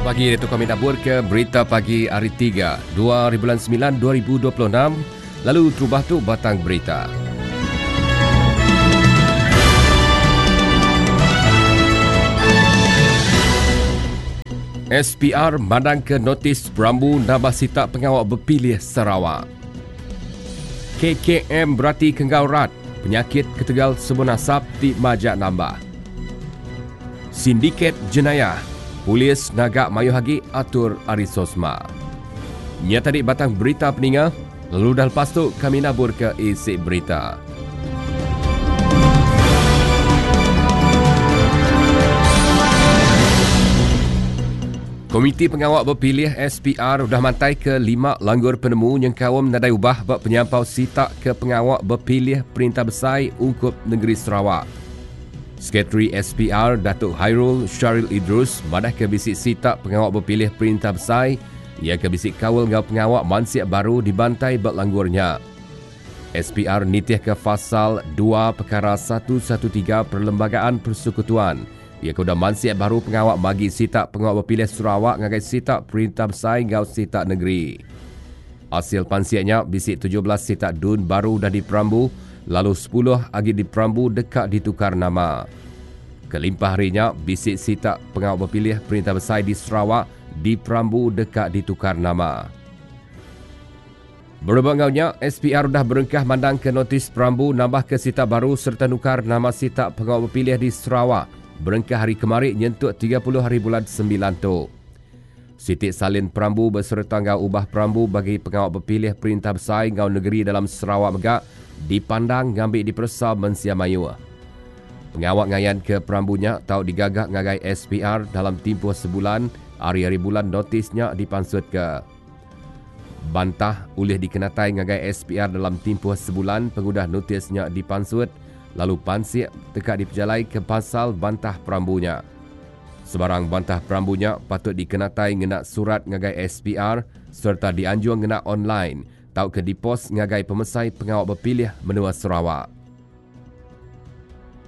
pagi ditu kami nabur ke berita pagi hari 3, 2 hari bulan 9 2026 lalu terubah tu batang berita. SPR mandang ke notis perambu nambah sitak pengawa bepilih Sarawak. KKM berati ke enggau rat penyakit ketegal sebun asap ti majak nambah. Sindiket jenayah, polis ngaga mayuh agi atur ari SOSMA. Nya tadi batang berita peninga, lalu udah lepas tu kami nabur ke isi berita. Komiti Pengawa Bepilih SPR udah mantaika lima langgur penemu nyengkaum nadai ubah ba penyampau sitak ke pengawa bepilih Perintah Besai ungkup Nengeri Sarawak. Sekretari SPR Datuk Hairul Shahril Idrus madahka bisi sitak pengawa bepilih Perintah Besai iya ke bisi kaul enggau pengawa mansik baru dibantai ba langgur nya. SPR nitihka Fasal dua Pekara satu satu tiga Perlembagaan Persekutuan Iya ke udah mansik baru pengawa magi sitak pengawa bepilih Sarawak ngagai sitak perintah besai enggau sitak nengeri. Asil pansik nya, bisi 17 sitak dun baru udah diperambu lalu sepuluh agi diperambu deka ditukar nama. Kelimpah ari nya, bisi sitak pengawa bepilih perintah besai di Sarawak diperambu deka ditukar nama. Berebak enggau nya, SPR udah berengkah mandangka notis perambu nambahka sitak baru sereta nukar nama sitak pengawa bepilih di Sarawak berengkah hari kemari nyentuk 30 hari bulan Sembilan tu. Siti salin perambu besereta enggau ubah perambu bagi pengawa bepilih perintah besai enggau negeri dalam Sarawak mega dipandang ngambi diperesa mensia mayuh. Pengawa ngayanka perambu nya tau digaga ngagai SPR dalam timpuh sebulan ari hari bulan notis nya dipansutka. Bantah ulih dikenatai ngagai SPR dalam timpuh sebulan pengudah notis nya dipansut lalu pansik deka dipejalaika pasal bantah perambu nya. Sebarang bantah perambu nya patut dikenatai ngena surat ngagai SPR sereta dianjung ngena online tauka dipos ngagai Pemesai Pengawa Bepilih Menua Sarawak.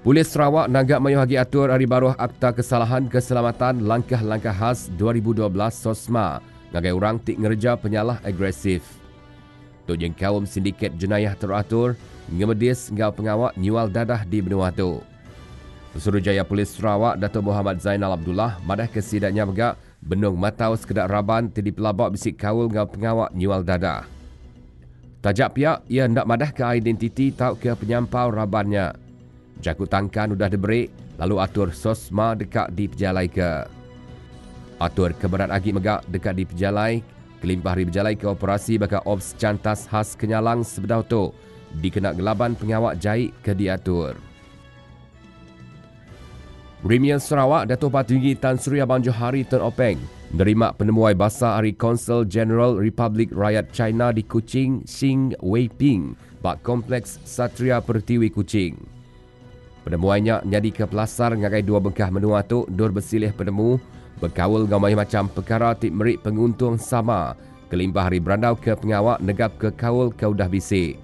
Polis Sarawak nangga mayuh agi atur ari baruh Akta Kesalahan Keselamatan Langkah-Langkah Khas 2012 SOSMA ngagai orang ti ngereja penyalah agresif. Tu nyengkaum sindiket jenayah teratur, ngemedis enggau pengawa nyual dadah di menua tu. Pesuruhjaya Polis Sarawak Dato Mohamad Zainal Abdullah madahka sida nya mega benung matau sekeda raban ti dipelaba bisi kaul enggau pengawa nyual dadah. Taja pia, iya enda madahka identiti tauka penyampau raban nya. Jaku tangkan udah diberi lalu atur SOSMA deka dipejalaika. Atur ke berat agi mega deka dipejalai kelimpah ari bejalaika operasi baka Ops Cantas Khas Kenyalang sebedau tu dikena ngelaban pengawa jai ke diatur. Premier Sarawak Datuk Patinggi Tan Sri Abang Johari Tun Openg nerima penemuai basa ari Konsul Jeneral Republik Rakyat China di Kuching Xing Weiping ba Kompleks Satria Pertiwi Kuching. Penemuai nya nyadika pelasar ngagai dua bengkah menua tu endur besilih penemu bekaul enggau mayuh macham pekara ti meri penguntung sama kelimpah ari berandauka pengawa negapka kaul ke udah bisi.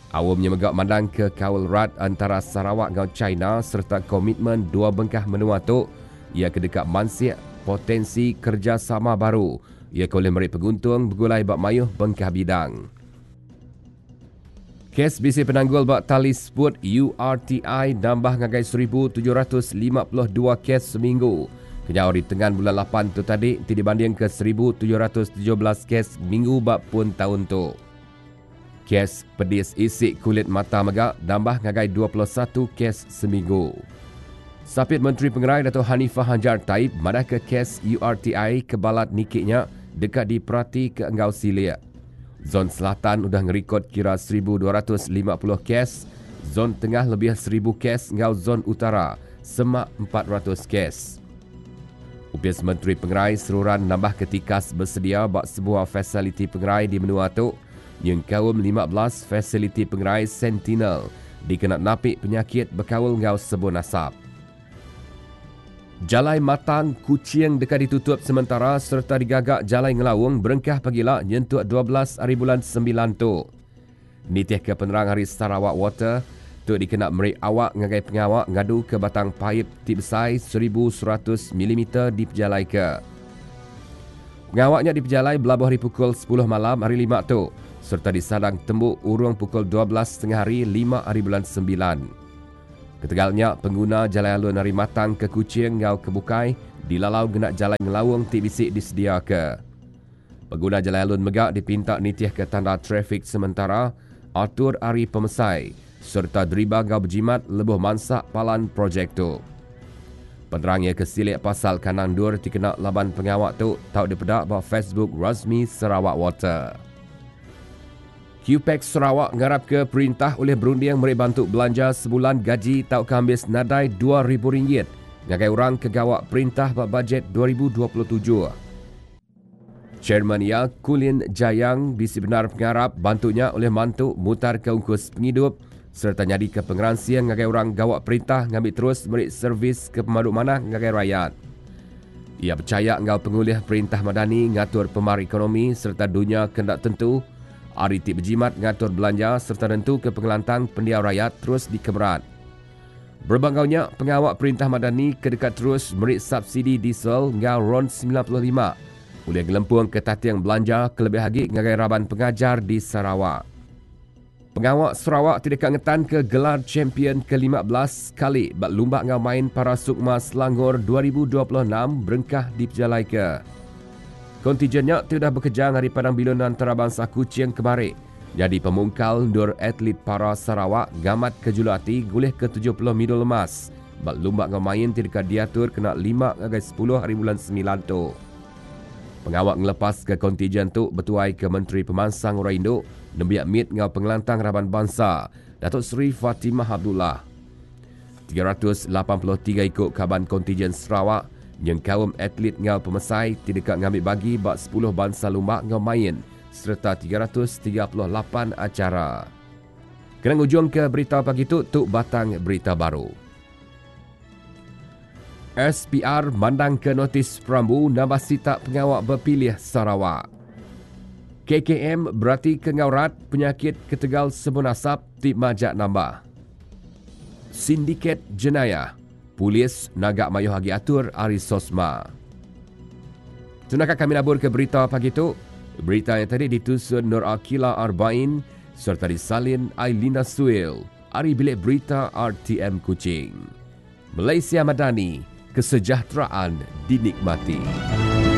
Aum nya mega mandangka kaul rat entara Sarawak enggau China sereta komitmen dua bengkah menua tu iya ke deka mansik potensi kerejasama baru iya ke ulih meri penguntung begulai ba mayuh bengkah bidang. Kes bisi penanggul ba tali seput URTI nambah ngagai 1,752 kes seminggu kenyau ari tengan bulan lapan tu tadi ti dibandingka 1,717 kes minggu ba pun taun tu. Kes pedis isi kulit mata mega nambah ngagai 21 kes seminggu. Sapit Menteri Pengerai Dato Hanifah Hajar Taib madahka kes URTI ke balat niki nya deka diperatika enggau silik. Zon Selatan udah ngerikod kira 1,250 kes, Zon Tengah lebih 1,000 kes enggau Zon Utara semak 400 kes. Opis Menteri Pengerai seruran nambahka tikas besedia ba sebuah fasiliti pengerai di menua tu nyengkaum 15 fasiliti pengerai Sentinel dikena napi penyakit bekaul enggau sebun asap. Jalai Matang, Kuching deka ditutup sementara sereta digaga jalai ngelaung berengkah pagila nyentuk 12 hari bulan Sembilan tu. Nitihka penerang ari Sarawak Water, tu dikena meri awak ngagai pengawa ngaduka batang paip ti besai 1100 milimeter dipejalaika. Pengawa nya dipejalai belabuh ari pukul sepuluh malam hari Lima tu sereta disadang tembu urung pukul 12 tengah hari lima hari bulan Sembilan. Ketegal nya, pengguna jalai alun ari Matang ke Kuching enggau ke bukai dilalau ngena jalai ngelaung ti bisi disediaka. Pengguna jalai alun mega dipinta nitihka tanda trafik sementara, atur ari pemesai sereta deriba enggau bejimat lebuh mansa palan projek tu. Penerang iya ke silik pasal kandang endur ti kena laban pengawa tu tau dipeda ba Facebook rasmi Sarawak Water. Cuepacs Sarawak ngarapka perintah ulih berunding meri bantu belanja sebulan gaji tauka ambis nadai RM2,000 ngagai orang ke gawa perintah ba bajet 2027. Chairman iya, Kulin Jayang bisi bendar pengarap bantu nya ulih mantu mutarka ungkus pengidup sereta nyadika pengeransing ngagai orang gawa perintah ngambi terus meri servis ke pemadu manah ngagai rayat. Iya pechaya enggau pengulih perintah Madani ngatur pemar ekonomi sereta dunya ke enda tentu ari ti bejimat ngatur belanja sereta nentuka pengelantang pendiau rayat terus dikemerat. Berebak enggau nya, pengawa Perintah Madani ke deka terus meri subsidi diesel enggau ron 95 ulih ngelempungka tating belanja kelebih agi ngagai raban pengajar di Sarawak. Pengawa Sarawak ti deka ngetanka gelar champion ke 15 kali ba Lumba enggau Main Para Sukma Selangor 2026 berengkah dipejalaika. Kontijen nya ti udah bekejang ari Padang Bilun Antarabangsa Kuching kemari Nyadi pemungkal endur atlit para Sarawak ngamatka juluk ati ngulihka 70 midul emas ba lumba enggau main ti deka diatur kena lima ngagai sepuluh hari bulan Semilan tu. Pengawa ngelepaska kontijen tu betuaika Menteri Pemansang Orang Indu, Nembiak Mit enggau Pengelantang Raban Bansa, Datuk Seri Fatimah Abdullah. 383 iku kaban kontijen Sarawak nyengkaum atlit enggau pemesai ti deka ngambi bagi ba sepuluh bansa lumba enggau main sereta 338 acara. Kena ngujungka berita pagi tu, tu batang berita baru. SPR mandangka notis perambu nambah sitak pengawa bepilih Sarawak. KKM beratika enggau rat penyakit ketegal sebun asap ti majak nambah. Sindiket jenayah, polis naga mayuh agi atur ari SOSMA. Tunaka kami nabur ke berita pagi tu. Berita yang tadi ditusun Nur Akila Arbain serta disalin Ailina Suil ari Bilik Berita RTM Kuching. Malaysia Madani, kesejahteraan dinikmati.